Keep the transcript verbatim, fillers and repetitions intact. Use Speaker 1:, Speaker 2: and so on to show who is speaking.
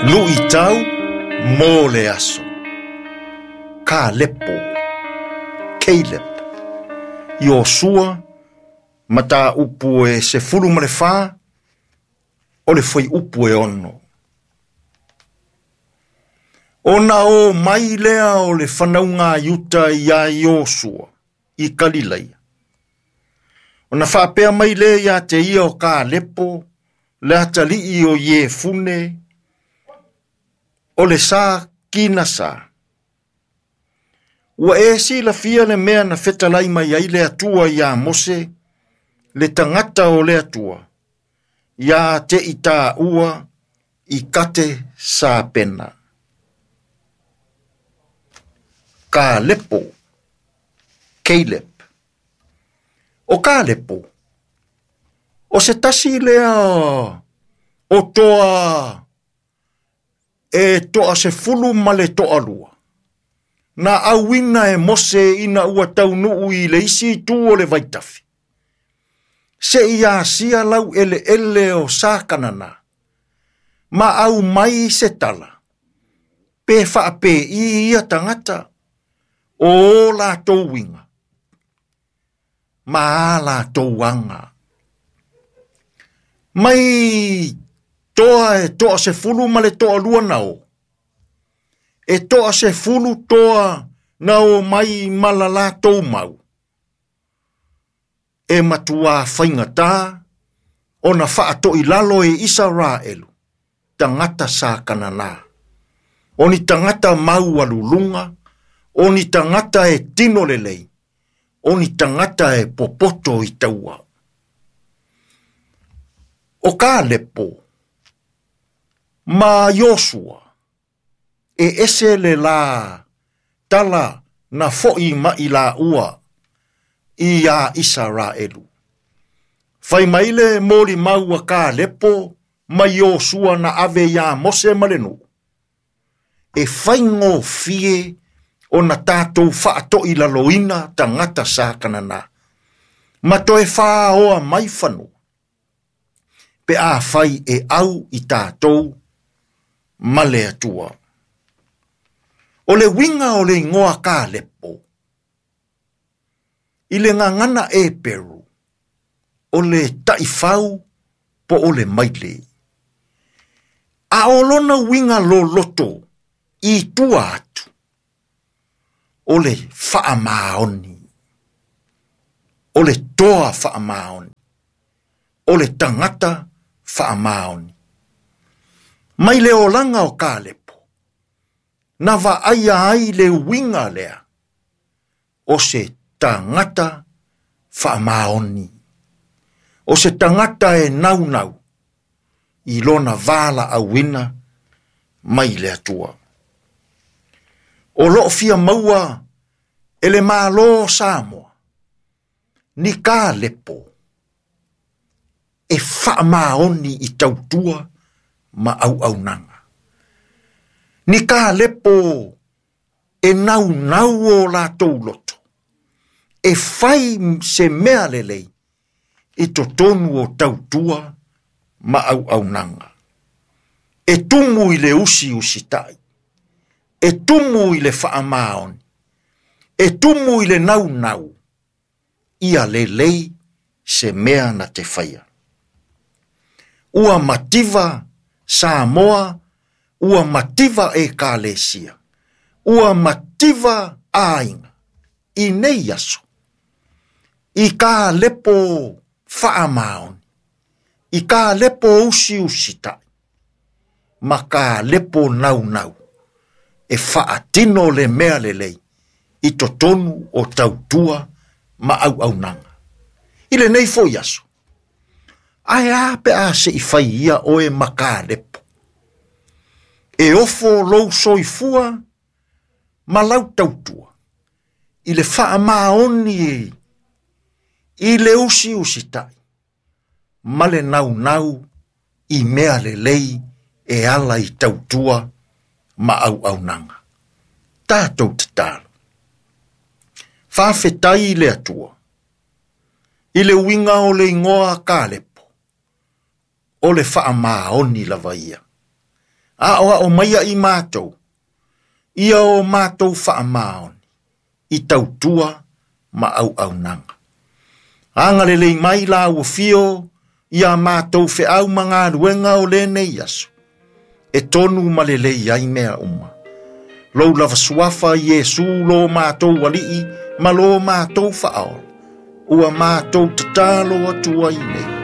Speaker 1: Luitau mo le aso. Kalepo, Caleb, Iosua, mataupu e sefulu ma le fa, o le fuaiupu e ono. Ona o mai lea o le fanauga a Iuta ia Iosua i Kalilaia. Ona faapea mai lea ia te ia o Kalepo, le atalii o Iefune, o le sa Kinasa. Ua e silafia le mea na fetalai mai ai le Atua ia Mose, le tagata o le Atua, ia te i tāua i kate sapena. Kalepo, Caleb. O Kalepo, o se tasi lea o toa e toa se fulu ma le toa lua. Na auina e Mose ina ua taunuu i le isi itu o le vaitafi. Se i asia lau ele ele o sakanana. Ma au mai se tala. Pe whaape i ia tangata. O la tau winga. Ma a la tau anga. Mai toa e toa se fulu ma le toa lua nao. E toa se fulu toa nao mai malala tau mau. E matua whaingata ona whaato i lalo e Israelu, tangata sa kanana. Oni tangata mau alulunga, oni tangata e tino lelei, oni tangata e popoto i taua. O Kalepo, ma Iosua, e ese le la tala na foi mai la ua i a Israelu. Fai maile moli maua Kalepo ma Iosua na ave ia Mose malenu. E whaingo fie o na tātou whaato i laloina tangata sa kanana. Ma toe whaoa mai whanu. Pe a whai e au i tātou male atua. O le winga o le ingoa Kalepo. I le ngangana e Peru. O le taifau po o le maile. A olona winga loloto i tua atu. O le whaamaoni. O le toa whaamaoni. O le tangata whaamaoni. Mai le olanga o Kalepo. Na vaaia ai le winga lea. O se tangata whaamaoni. O se tangata e naunau. I lona vala awina mai le atua. O loo fia maua e le malo Samoa. Ni Kalepo. E whaamaoni i tautua ma au au nanga. Ni Kalepo e naunau o la tauloto. E whai se mea lelei i totonu o tautua ma au au nanga. E tumu i le usi usitai. E tumu i le whaamaoni. E tumu i le naunau. Ia lelei se mea na te whaia. Ua mativa Samoa, ua mativa e Kalesia, ua mativa ainga, i nei aso, i Kalepo whaamaoni, i Kalepo usi usitai, ma Kalepo naunau, e whaatino le mea lelei, i totonu o tautua ma au au nanga. I le nei foi aso, ae a pe a se i whai ia oe ma Kalepo. E ofo lou soifua ma lau tautua. I le whaamaoni e, i le usi usitai. Ma le naunau i mea lelei e ala i tautua ma au au nanga. Tātou te talo. Whawhetai i le atua. I le winga o le ingoa Kalepo. O le whaamaoni lava ia. A o ao mai i mātou, ia o mātou whaamaoni, i tautua ma au au nanga. Anga lelei mai la ua fio, ia mātou wheau ma luenga o lene iaso. E tonu ma lelei ai mea uma. Lou lava suafa Iesu lo mātou walii, ma lo mātou whaola. Ua mātou tatalo atua i nei.